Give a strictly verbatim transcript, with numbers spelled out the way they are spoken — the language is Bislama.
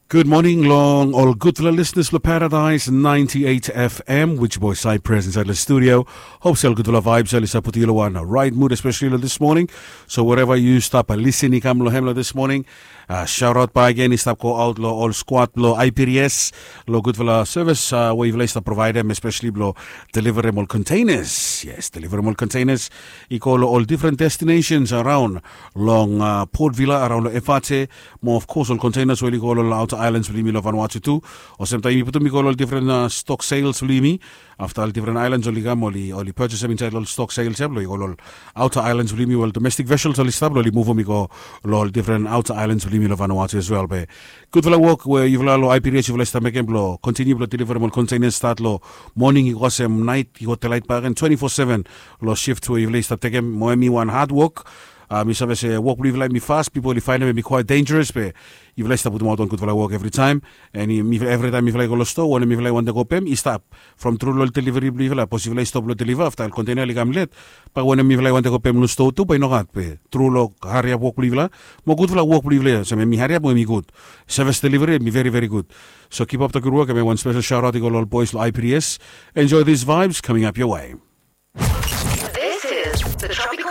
Gud moning long ol gudfala lisenas blong Paradise ninety-eight F M, which boy Cypress inside the studio. Hope sel gudfala vibes el i stap putum yu long wan right mood, especially long this morning. So wherever yu stap lisin i kam long hem long this morning, uh, shout out by again i stap go out long ol squad long I P D S long gudfala service uh, we yufala i stap providem, especially blong deliverem ol containers. Yes, deliverem ol containers i go long ol different destinations around long uh, Port Vila, around long Efate, mo of course ol containers we oli go long outer islands blong yumi long Vanuatu tu. Olsem taem yumi putum i go long different uh, stock sales blong yumi. Afta ol different islands oli kam oli oli purchasem inside ol stock sales ya blong i go long outer islands blong yumi, well, domestic vessels oli stap blong oli muvum i go long ol different outer islands blong yumi long Vanuatu as well. Be gudfala wok we yufala long I P D S yufala i stap mekem blong continue blong deliverem ol containers start long moning i go olsem nait i go delaet bakegen twenty-four seven long shift we yufala i stap tekem. Mo hemi wan hard wok. Uh, mi save se wok blong yufala hemi fas, pipol i faenem hemi quite dangerous, be yufala i stap putumaot wan gudfala wok evri taem. And evri taem yufala i go long stoa, wanem yufala i wantem go pem i stap from tru long delivery blong yufala. Sapos yufala i stop long deliver afta ol container oli kam let, bae wanem yufala i wantem go pem long stoa tu bae i nogat. Be tru long hariap wok blong yufala mo gudfala wok blong yufala ya, olsem hemi hariap mo hemi gud. Service delivery hemi veri veri gud. So keep up the good work, and wan special shout out i go long ol boys long I P D S. Enjoy these vibes coming up your way. This is the Tropical